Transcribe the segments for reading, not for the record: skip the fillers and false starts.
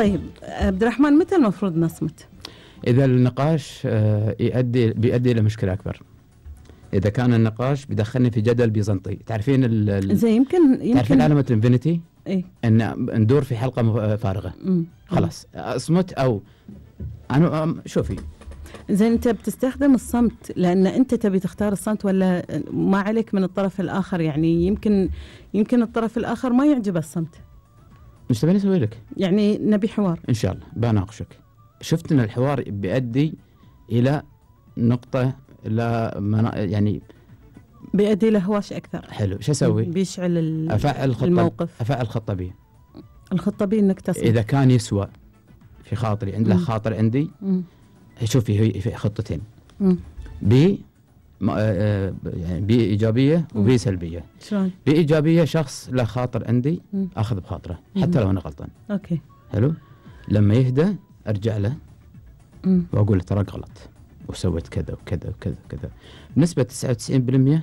طيب عبد الرحمن، متى المفروض نصمت؟ إذا النقاش بيؤدي إلى مشكلة أكبر. إذا كان النقاش بيدخلني في جدل بيزنطي. تعرفين زي يمكن تعرفين علامة الانفينيتي؟ إيه؟ إن ندور في حلقة فارغة. خلاص أصمت أو أنا شوفي. زين، أنت بتستخدم الصمت لأن أنت تبي تختار الصمت، ولا ما عليك من الطرف الآخر؟ يعني يمكن الطرف الآخر ما يعجب الصمت. مش تبيني أسوي لك؟ يعني نبي حوار. إن شاء الله بناقشك. شفت إن الحوار بيؤدي إلى نقطة يعني بيؤدي إلى هواش أكثر. حلو، شو أسوي؟ بيشعل الموقف. أفعل خطة بي. الخطة بي إنك تصمت. إذا كان يسوى في خاطري، عنده خاطر عندي. شوفي، هي في خطتين. بي يعني بي إيجابية وبي سلبية. شلون؟ بي إيجابية، شخص له خاطر عندي أخذ بخاطره حتى لو أنا غلطان. أوكي. حلو. لما يهدى أرجع له وأقول له تراك غلط وسويت كذا وكذا وكذا وكذا. بنسبة 99%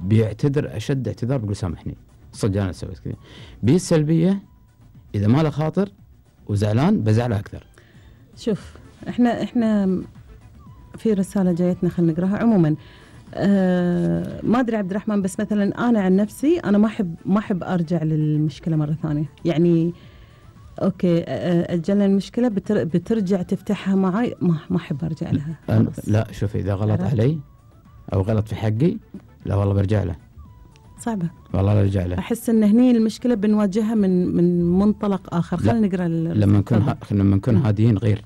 بيعتذر أشد اعتذار، بيقول سامحني صدق أنا سويت كذا. بي السلبية، إذا ما له خاطر وزعلان بزعله أكثر. شوف، إحنا في رسالة جايتنا، خلينا نقراها. عموما ما أدري عبد الرحمن، بس مثلا أنا عن نفسي أنا ما أحب أرجع للمشكلة مرة ثانية. يعني أوكي، أجلنا المشكلة بترجع تفتحها معي، ما أحب أرجع لها. لا شوفي، إذا غلط علي أو غلط في حقي، لا والله برجع له. صعبة والله، برجع له. أحس إن هني المشكلة بنواجهها من منطلق آخر. خلينا نقرأ لما نكون هاديين غير.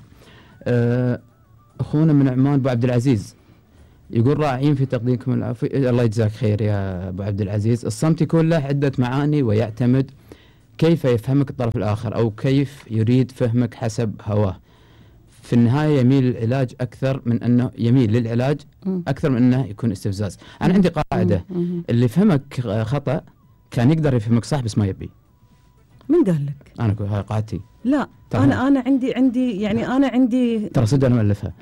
أخونا من عمان أبو عبد العزيز يقول راعين في تقديمكم العفو. الله يجزاك خير يا أبو عبد العزيز. الصمت يكون له عدة معاني، ويعتمد كيف يفهمك الطرف الآخر أو كيف يريد فهمك حسب هواه. في النهاية يميل للعلاج أكثر من أنه يكون استفزاز. أنا عندي قاعدة، اللي فهمك خطأ كان يقدر يفهمك صح بس ما يبي. من قال لك؟ أنا أقول هاي قاعدتي. لا، أنا عندي يعني أنا عندي ترى صدق أنا مؤلفها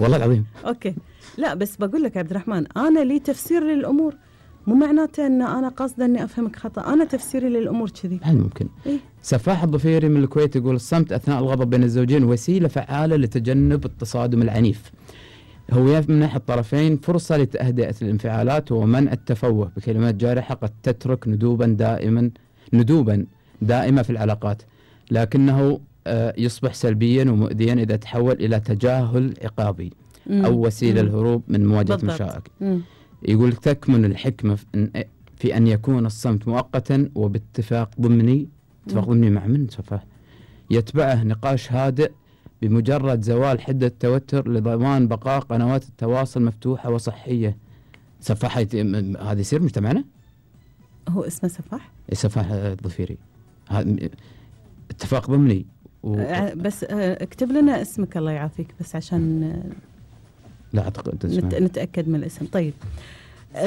والله العظيم. أوكي، لا بس بقول لك عبد الرحمن، أنا لي تفسير للأمور، مو معناته أن أنا قصدا أني أفهمك خطأ. أنا تفسيري للأمور كذي. هل ممكن؟ إيه؟ سفاح الضفيري من الكويت يقول الصمت أثناء الغضب بين الزوجين وسيلة فعالة لتجنب التصادم العنيف. هو يمنح الطرفين فرصة لتهدئة الانفعالات ومنع التفوه بكلمات جارحة قد تترك ندوبا دائمة في العلاقات، لكنه يصبح سلبيا ومؤذيا إذا تحول إلى تجاهل عقابي أو وسيلة الهروب من مواجهة المشاكل. يقول تكمن الحكمة في أن يكون الصمت مؤقتا وباتفاق ضمني. اتفاق ضمني مع من سفاح؟ يتبعه نقاش هادئ بمجرد زوال حدة التوتر لضمان بقاء قنوات التواصل مفتوحة وصحية. سفاح هذا يصير مجتمعنا؟ هو اسمه سفاح؟ سفاح الضفيري. اتفاق ضمني بس اكتب لنا اسمك الله يعافيك، بس عشان لا أعتقد نتأكد من الاسم. طيب